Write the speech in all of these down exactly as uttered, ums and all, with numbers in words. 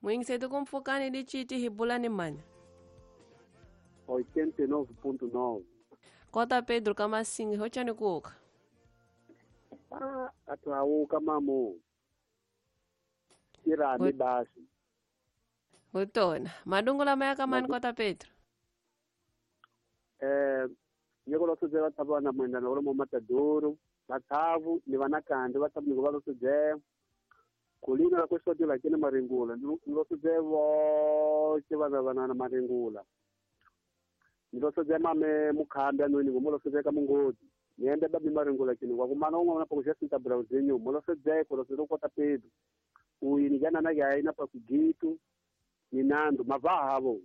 Mwingisetu kumpfukani diciti hi bula ni mani? oitenta e nove ponto nove. Kota Pedro Kamasinga, hochani kuoka. Ah, atuauka mamo. Irani basi. Utona. Madungula maya mani Kota Pedro? Eh, nyeko losodzela tabana mwenda na olomo matadoro, bathavu ni vanakandi vathavu ni valosodzela. Kulina la kwesoti la kene maringula, nilosodze voce vana vana na maringula. Nilosodze mame mukhambi anweni ngomolosodze ka mungodi. Niende babi maringula kini kwa kumana unga na pakuja sinta browsinyo, molosodze kolosodze Kota Pedro. Uyi nijana na yaina pa kugitu ni nando mavahavo.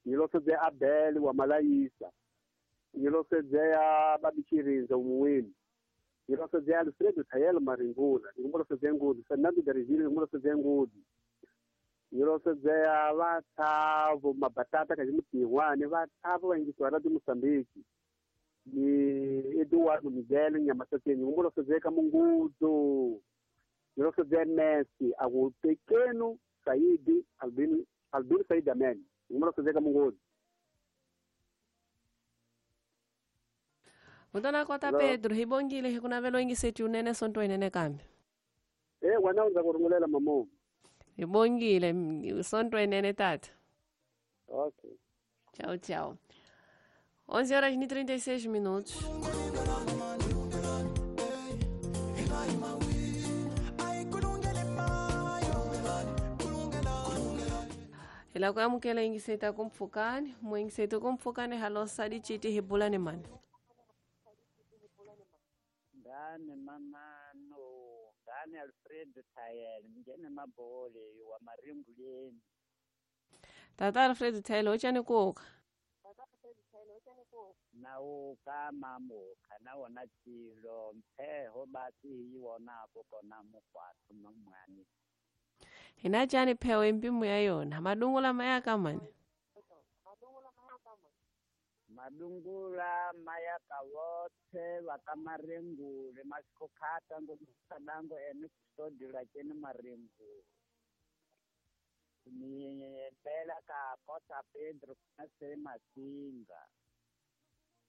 Nilosodze Abel wa Malaisa. Nilosodze babi Chirinza umuwini. Nilosodze Alfredo Tayel Maringula, ngomolosodze ngudi, Fernando Darigili ngomolosodze ngudi. Nilosodze vatavo mabatata kazimutiwane vatavo vaingiswa radio Moçambique. Ni Eduardo Miguel Nyamasateni ngomolosodze ka mungudo. Nilosodze Messi agu pequeno Said Albino Albino Said Amen ngomolosodze ka mungudo. Mutona Kota Pedro, hibongile hikunavelo ingiseti unene sonto inene kambi. Eh, wana kurungulela mamo. Hibongile sonto inene tata. Okay. Tchau, tchau. onze horas e trinta e seis minutos. Ela kwamukela ingiseta kumpfukani, mwingiseta kumpfukani halosa dichiti hibulani mani. Ngane mamano, ngane Alfredo Tayel, ngene mabole wa maringuleni. Tata Alfredo Tayel ochani kuoka. Nauka mamoka nawona chilo mpheho basi hiwona apo kona mukwathu mamwani. Hina chani pheho empimu ya yona, madungula mayaka mani. Madungula mayaka wote wakamaringule masikokhata ngomusadango ene kustodila kene maringule. Ni bela ka Kota Pedro nase Masinga.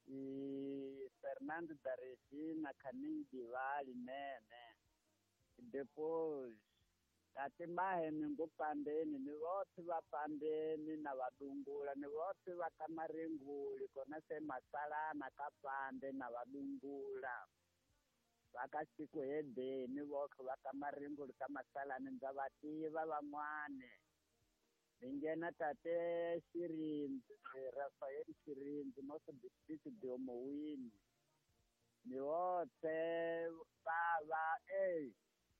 I Fernando da Regina Caninho de Vale nene. Depois tate mahene ngopandeni ni vote vapandeni na vadungula ni vote vakamaringuli kona se masalana kapande na vadungula vakasiku hedeni voke vakamaringuli kamasalana ndza vativa van'wane. Ningena tate Shirinzi Rafael Shirinzi noso distrito de Omowini ni vote vava eh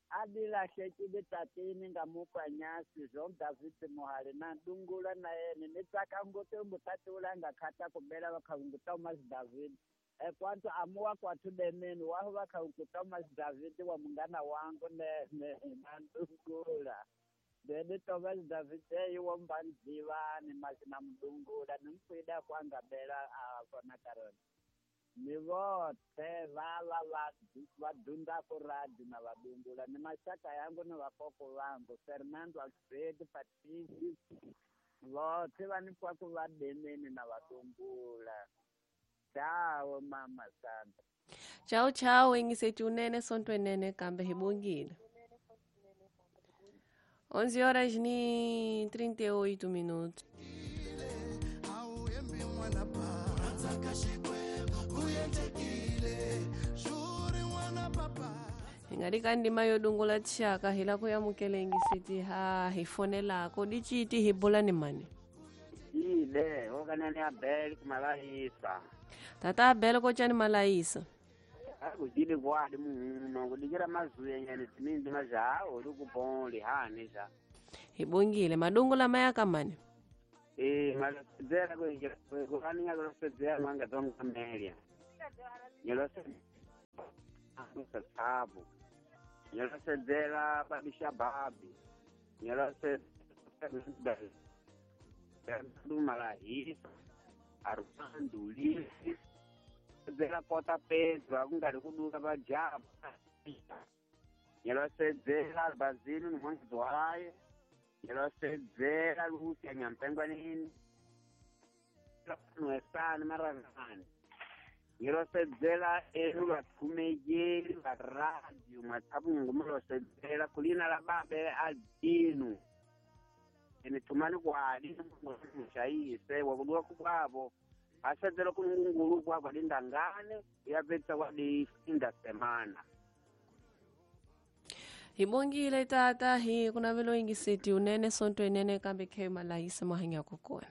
adilahlekile tatini ngamupa nyasi Jean David Mohale na dungula na yene ni tsaka ngote mutati ulanga khata kubela vakhaungu Thomas David e kwantu amuwa kwathu demeni waho vakhaungu Thomas David wa mungana wangu nene na dungula dede Thomas David eyi wombanzivani masina mdungula nimkwida kwanga bela afona karona ni vote vava vadundako radi na vadungula ni mashaka yangu ni vakoko vangu Fernando Alfredo Patricio vote vanikwako vademeni na vadungula. Chao mama Sandra. Chao chao ingiseti unene sonto enene kambe hibongile. onze horas e trinta e oito minutos. Ingarika ndima yodungula tshaka hila kuyamukela ingisiti ha hifonelako dichiti hibulani mani. Ile okanani Abel kumalaisa. Tata Abel kochani malaisa. Akudile kwadi muno kudikira mazuye nyane timindi majawo lukubonli hani ja. Hibongile madungula mayaka mani. Eh malosedzera ko kani ngalosedzera manga donga melia. Nyalose sabu. Nyalosedzera babisha babi. Nyalose Malahisa Armando Lisi Zela Kota Pedro akungari kuduka pajapa. Nyalosedzera Basílio Mwanzwaye Ngilosedzela Lucia Nyampengwanini. Nwesani Maravani. Ngilosedzela enu vathumejeli va radio Mwathavungu mulosedzela kulina la babe adinu. Ene thumani kwali mushayise wakuduka kukwavo. Asedzela kunungungulu kwavo lindangane yapetsa kwadi inda semana. Hi bongile tata hi ku navelo yingiseti unene sonto inene kambe khe malayisa mahanyako kona.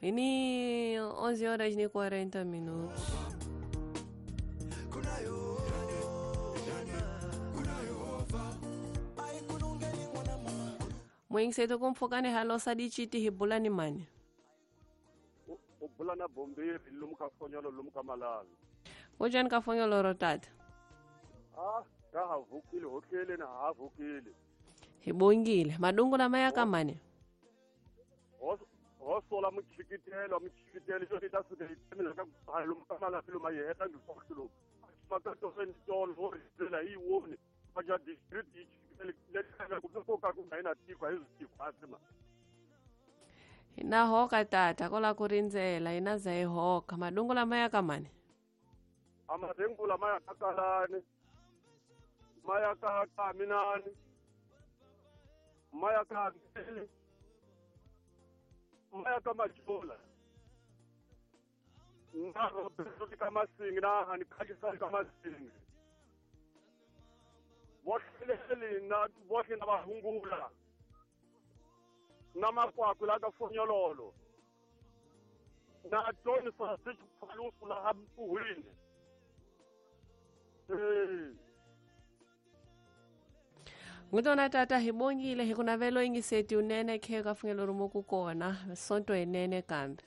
Ini onze horas e quarenta minutos. Mwingiseto kumfokane halosa dichiti hi bulani mani. U bulana bombiri lumuka fonyolo lumuka malala. Ujani ka fonyolo rotata? Ah, ka havukile hotlele na havukile. Hi bongile madungu la maya kamane. Ho sola muchikitelo muchikitelo xo ta suka hi mina ka lumuka malala luma yeta ngifoxilo. Makato sentol ho rizela hi woni. Baja district ichikitele le ka ku ka ku nga tiko hi tiko asima. Hina hoka tata kola ku rindzela hina za hi hoka madungu lama ya kamane. Amadungu lama ya kakalani. Maya ka kaminani. Maya ka Maya ka majola. Na Roberto ka masingi na hani khajisa ka masingi. Bohlele na bohle na bahungula. Na makwaku la ka fonyololo. Na John sa sithu la hampuhini. Eh. Ngutona tata hi bongile hi ku navelo yingiseti unene khe ka fungelo rumo ku kona sonto inene kambe.